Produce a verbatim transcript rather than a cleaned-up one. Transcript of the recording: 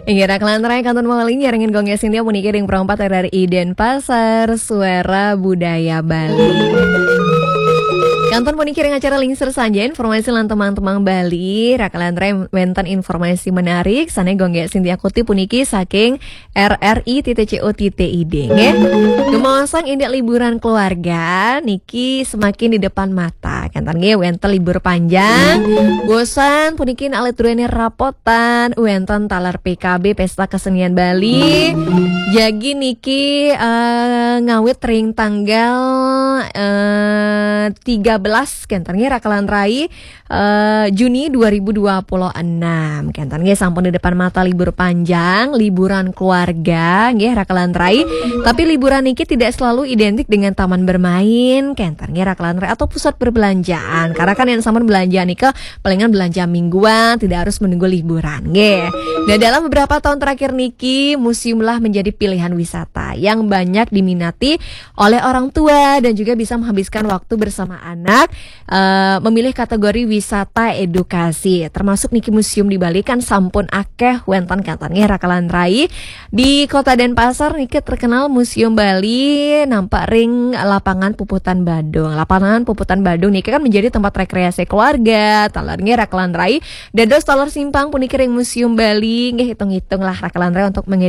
Inggih, Raka lan Rai, kantun malih nyarengin Gong Sintia puniki ring Pro empat R R I Denpasar, Suara Budaya Bali. Kantun puniki ring acara Lingsir Sanja, informasi lan tembang-tembang Bali. Raka lan Rai, wenten informasi menarik sane Gong Sintia kutip puniki saking R R I titik C O titik I D, nggih. Gemaosang indik liburan keluarga niki semakin di depan mata. Kenten nggih, wenten libur panjang. Bosan puniki alit druene rapotan, wenten taler P K B, Pesta Kesenian Bali. Jagi niki, eh, ngawit ring tanggal, eh, tiga belas, kenten nggih, Raka lan Rai, eh, Juni dua ribu dua puluh enam. Kenten nggih, sampun di depan mata libur panjang, liburan keluarga nggih, Raka lan Rai. Tapi liburan niki tidak selalu identik dengan taman bermain, kenten nggih, Raka lan Rai, atau pusat perbelanjaan. Karena kan yang sampun belanja nika palingan belanja mingguan, tidak harus menunggu liburan nggih. Nah, dalam beberapa tahun terakhir niki, museum lah menjadi pilihan wisata yang banyak diminati oleh orang tua dan juga bisa menghabiskan waktu bersama anak, eh, memilih kategori wisata edukasi. Termasuk niki museum di Bali kan sampun akeh wenten, kenten nggih, Raka lan Rai. Di Kota Denpasar niki terkenal Museum Bali nampak ring Lapangan Puputan Badung. Lapangan Puputan Badung niki kan menjadi tempat rekreasi keluarga, taler nggih, Raka lan Rai. Dados taler simpang puniki ring Museum Bali, nggih, hitung-hitung lah, Raka lan Rai, untuk